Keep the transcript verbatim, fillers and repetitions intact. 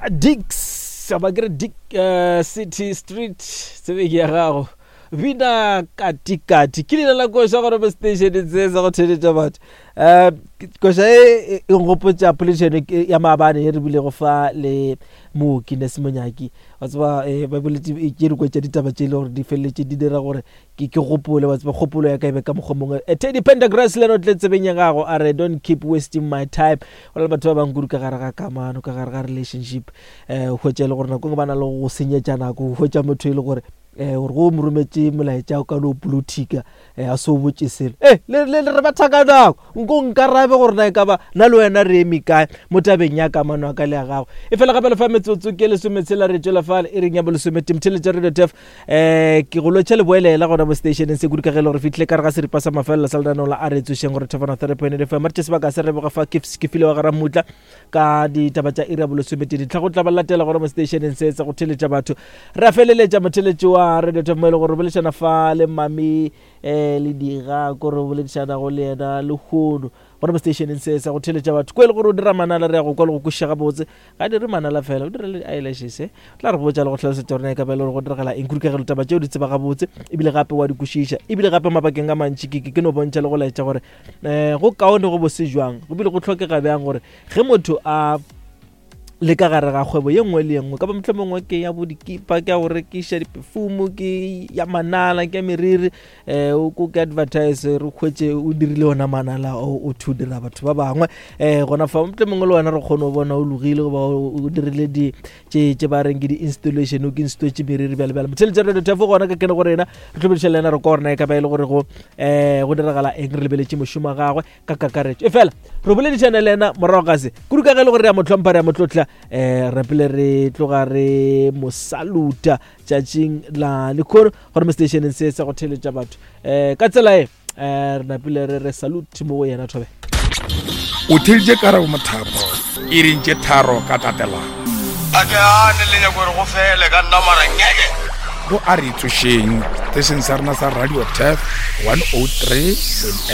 Dix ba kere Dick uh, City Street tsebeng ya gago bina katikati ke leina la koša gore mo stationeng se sa go theletša batho um koša e e nkgopotša poledišano ya maabane ye re bilego fa le mooki Nurse Monyaki wa tseba um ba boletse ke dikwe tša ditaba tše e le gore di feleletše di dira gore ke ke gopole wa tseba kgopolo ya ka e be ka mokgwa mongwe. Teddy Pendergrass le ena o tle tsebeng ya gago a re, "Don't keep wasting my time." Go na le batho ba bangwe kudu ka gare ga kamano, ka gare ga relationship, um hwetša e le gore nako e nngwe ba na le go senyetša nako. Hwetša motho e le gore um gore go mo rometše molaetša o ka no polotika, um a se o botše selo e le re batha ka nako nko nkarabe gore na e ka ba na le wena re eme kae mo tabeng ya kamano ya ka le ya gago. E fela gape lefa metsotso ke lesometshela re tšwela fale e reng ya bolesometee mtheletša Radio Tef. um ke go lotšha leboelela gona mo stationeng se kudu ka ge e le gore fitlhile ka re ga seripa sa mafelelo sa lenaneo la a re tsošeng gore thefana three point eight F M. Re tše sebaka se re boga fa ke file wa gara mmutla ka ditaba tša iri ya bolesometee ditlha go tla ba latela gona mo stationeng se sa go theletša batho. Re a feleletša motheletši wa Radio Tef mo e le gore re boledišana fa le mami um le diga ko re boledišanago le yena lehono gona mo stationeng se sa go theletša batho ko e le gore o dira manala. Re ya go kwa le go kwešiša gabotse ga dire manala fela, o dira le eyelashes. O tla re botša le go hlalosetša gore na e ka ba e le gore go diragala eng kudu ka ge taba tšeo di tseba gabotse ebile gape wa di kwešiša. Ebile gape mabakeng a mantši ke ke no bontšha le go laetša gore um go kaone go bose jwang, go bile go tlhokega bjang gore ge motho a le ka gare ga kgwebo ye nngwe le ye nngwe, ka ba motlho mongwe ke ya bo dikipa, ke ya go rekiša diperfume, ke ya manala, ke ya meriri, um o ko ke advertise re kgwetse o dirile ona manala o o thu dira batho ba bangwe um gona fa motlho mongwe le wena re kgone go bona o logile goba o dirile di tše tše ba reng ke di-installation, o ke installetse meriri bjale bjale. Motheletša Radio Tefo gona ka kene go rena re tlhobediša le yena re kwa gorena e ka ba e le gore go um go diragala eng re lebeletše mošomo wa gagwe ka kakaretšo. E fela re boledišane le yena morago ga se kudu ka ge e le gore re ya mo hlompha, re ya mo tlotla, um re pele re tloga re mo saluta tšatšing la lekhono gore mo stationeng se sa go theletša batho um ka tsela e um re napile re re salute mo go yena thobe. O theleditše Karabo Mothapo iring tše tharo ka tatelano. A ke ane le nyako gore go fele ka nna mara ngeke. Go a re tsošeng station sa rena sa Radio Tef one oh three.